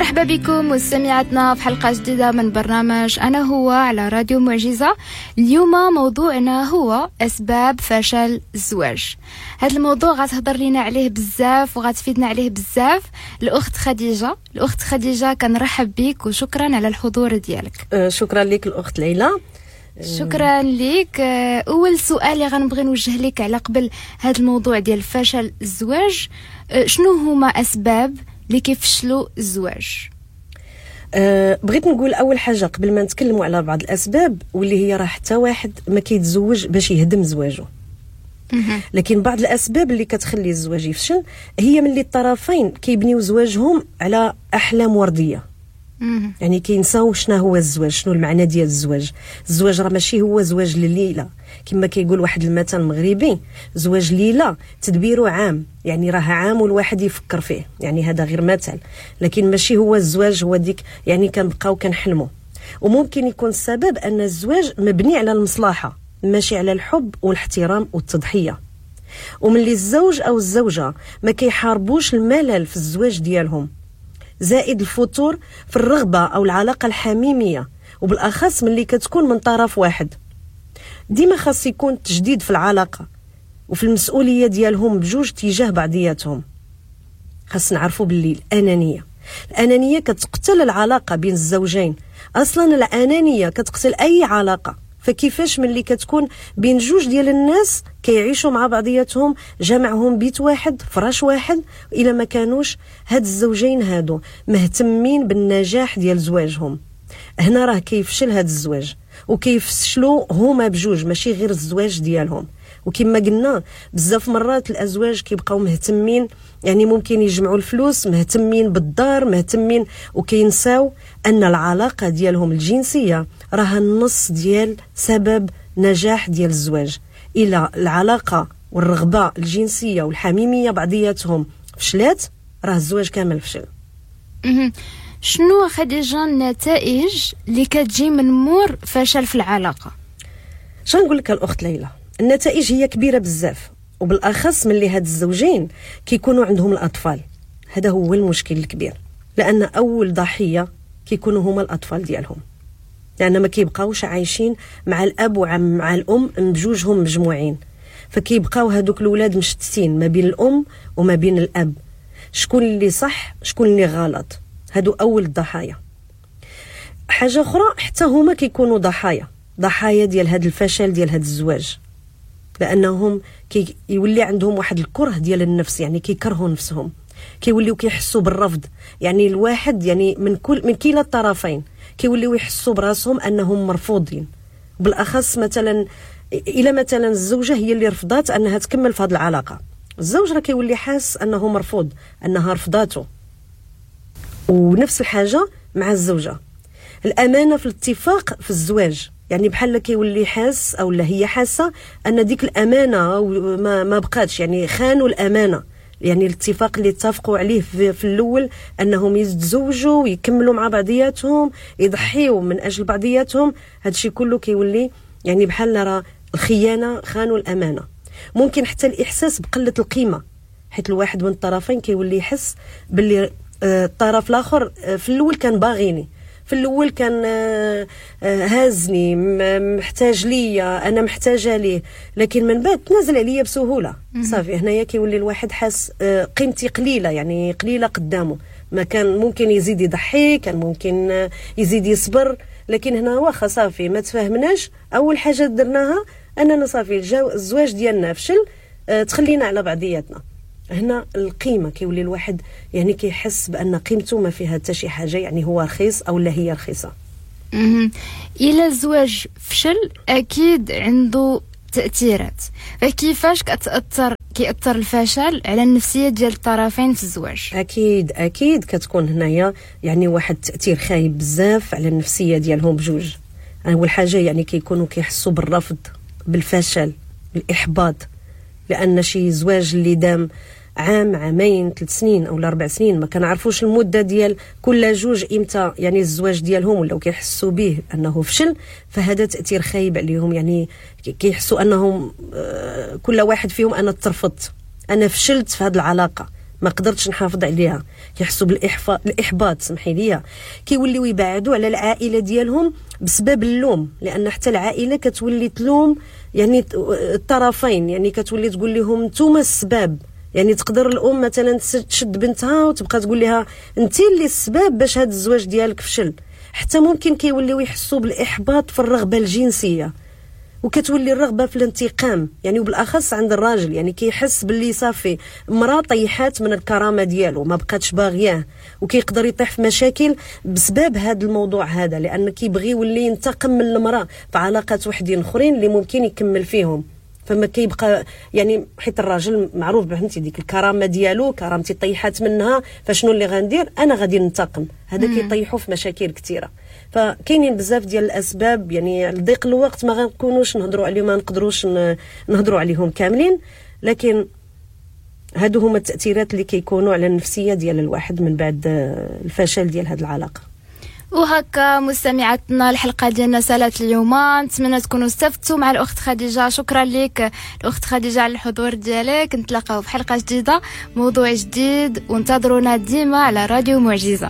مرحبا بكم مستمعاتنا في حلقة جديدة من برنامج أنا هو على راديو معجزة. اليوم موضوعنا هو أسباب فشل الزواج. هذا الموضوع غتهضر لنا عليه بزاف وغتفيدنا عليه بزاف الأخت خديجة. الأخت خديجة كنرحب بك وشكرا على الحضور ديالك. شكرا لك الأخت ليلى. شكرا لك. أول سؤال اللي غنبغي نوجه لك على قبل هذا الموضوع ديال فشل الزواج، شنو هما أسباب اللي كيفشلوا الزواج؟ بغيت نقول اول حاجة قبل ما نتكلموا على بعض الاسباب، واللي هي راه حتى واحد ما كيتزوج باش يهدم زواجه، لكن بعض الاسباب اللي كتخلي الزواج يفشل هي ملي الطرفين كيبنيو زواجهم على احلام وردية. يعني كينساو شنو هو الزواج، شنو المعنى ديال الزواج. الزواج راه ماشي هو زواج لليلة، كما كيقول واحد المثل المغربي، زواج ليلة تدبيره عام، يعني راه عام والواحد يفكر فيه، يعني هذا غير مثل، لكن ماشي هو الزواج هو ديك، يعني كنبقاو كنحلموا. وممكن يكون السبب ان الزواج مبني على المصلحة ماشي على الحب والاحترام والتضحية. وملي الزوج او الزوجة ما كيحاربوش الملل في الزواج ديالهم، زائد الفتور في الرغبة أو العلاقة الحميمية، وبالأخص ملي كتكون من طرف واحد. ديما خاص يكون تجديد في العلاقة وفي المسؤولية ديالهم بجوج تجاه بعضياتهم. خاص نعرفوا باللي الأنانية كتقتل العلاقة بين الزوجين. أصلا الأنانية كتقتل أي علاقة، فكيفاش ملي كتكون بين جوج ديال الناس كيعيشوا مع بعضياتهم، جمعهم بيت واحد، فراش واحد، الى ما كانوش هاد الزوجين هادو مهتمين بالنجاح ديال زواجهم، هنا راه كيفشل هاد الزواج وكيفشلوا هما بجوج ماشي غير الزواج ديالهم. وكما قلنا بزاف مرات الازواج كيبقاو مهتمين، يعني ممكن يجمعوا الفلوس، مهتمين بالدار، مهتمين، وكينساو ان العلاقة ديالهم الجنسية راه النص ديال سبب نجاح ديال الزواج. الى العلاقة والرغبة الجنسية والحميميه بعضياتهم فشلات، راه الزواج كامل فشل. شنو خديجة النتائج اللي كتجي من مور فشل في العلاقة؟ شنو نقول لك الاخت ليلى، النتائج هي كبيرة بزاف، وبالاخص ملي هاد الزوجين كيكونوا عندهم الاطفال. هذا هو المشكل الكبير، لان اول ضحية كيكونوا هما الاطفال ديالهم، لان ما كيبقاوش عايشين مع الاب ومع الام بجوجهم مجموعين، فكيبقاو هادوك الاولاد مشتتين ما بين الام وما بين الاب، شكون اللي صح شكون اللي غلط. هادو اول الضحايا. حاجة اخرى، حتى هما كيكونوا ضحايا ديال هاد الفشل ديال هاد الزواج، لانهم كيولي عندهم واحد الكره ديال النفس، يعني كيكرهوا نفسهم، كيوليو كيحسوا بالرفض، يعني الواحد يعني من كلا الطرفين كيوليو يحسوا براسهم انهم مرفوضين. بالاخص مثلا الى مثلا الزوجة هي اللي رفضات انها تكمل في هذه العلاقة، الزوج راه كيولي حاس انه مرفوض، انها رفضاته. ونفس الحاجة مع الزوجة. الامانة في الاتفاق في الزواج، يعني بحال كيولي حاس او لا هي حاسه ان ديك الامانة ما بقاتش، يعني خانوا الامانة، يعني الاتفاق اللي اتفقوا عليه في الاول انهم يتزوجوا ويكملوا مع بعضياتهم، يضحيوا من اجل بعضياتهم، هادشي كله كيولي يعني بحال راه الخيانة، خانوا الامانة. ممكن حتى الاحساس بقلة القيمة، حيت الواحد من الطرفين كيولي يحس باللي الطرف الاخر في الاول كان باغيني، في الاول كان هازني، محتاج ليا، انا محتاجه ليه، لكن من بعد تنازل عليا بسهولة. صافي هنايا كيولي الواحد حاس قيمتي قليله، يعني قليله قدامه، ما كان ممكن يزيد يضحي، كان ممكن يزيد يصبر، لكن هنا واخا صافي ما تفاهمناش. اول حاجة درناها اننا صافي الزواج ديالنا فشل، تخلينا على بعضياتنا. هنا القيمة كيولي الواحد يعني كيحس بان قيمته ما فيها حتى شي حاجة، يعني هو رخيص او لا هي رخيصة. الى الزواج فشل اكيد عنده تاثيرات، فكيفاش كيأثر الفشل على النفسية ديال الطرفين في الزواج؟ اكيد كتكون هنايا يعني واحد التاثير خايب بزاف على النفسية ديالهم بجوج. اول حاجة يعني كيكونوا كيحسوا بالرفض، بالفشل، بالاحباط، لان شي زواج اللي دام عام، عامين، 3 سنين او 4 سنين، ما كنعرفوش المدة ديال كل جوج امتى يعني الزواج ديالهم ولاو كيحسوا به انه فشل، فهذا تاثير خايب عليهم. يعني كيحسوا انهم كل واحد فيهم انا ترفضت، انا فشلت في هذه العلاقة، ما قدرتش نحافظ عليها، كيحسوا بالاحباط، سمحي لي، كيوليو يبعدوا على العائلة ديالهم بسبب اللوم، لان حتى العائلة كتولي تلوم يعني الطرفين، يعني كتولي تقول لهم نتوما السبب. يعني تقدر الام مثلا تشد بنتها وتبقى تقول لها انت اللي السبب باش هذا الزواج ديالك فشل. حتى ممكن كيوليو يحسوا بالاحباط في الرغبة الجنسية، وكتولي الرغبة في الانتقام، يعني وبالاخص عند الراجل، يعني كيحس باللي صافي مراة طيحات من الكرامة ديالو، ما بقاتش باغياه، وكيقدر يطيح في مشاكل بسبب هذا الموضوع هذا، لان كيبغي يولي ينتقم من المراة في علاقات وحدين اخرين اللي ممكن يكمل فيهم. فما كيبقى يعني حيت الراجل معروف فهمتي ديك الكرامة ديالو، كرامتي طيحات منها، فشنو اللي غندير؟ انا غادي ننتقم. هذا كيطيحوا في مشاكل كثيرة. فكاينين بزاف ديال الاسباب، يعني لضيق الوقت ما غنكونوش نهضروا عليهم، ما نقدروش نهضروا عليهم كاملين، لكن هادو هما التاثيرات اللي كيكونوا على النفسية ديال الواحد من بعد الفشل ديال هذه العلاقة. وهكا مستمعاتنا الحلقة ديالنا سالت اليوم، نتمنى تكونوا استفدتوا مع الاخت خديجة. شكرا لك الاخت خديجة على الحضور ديالك. نتلاقاو في حلقة جديدة، موضوع جديد، وانتظرونا ديما على راديو معجزه.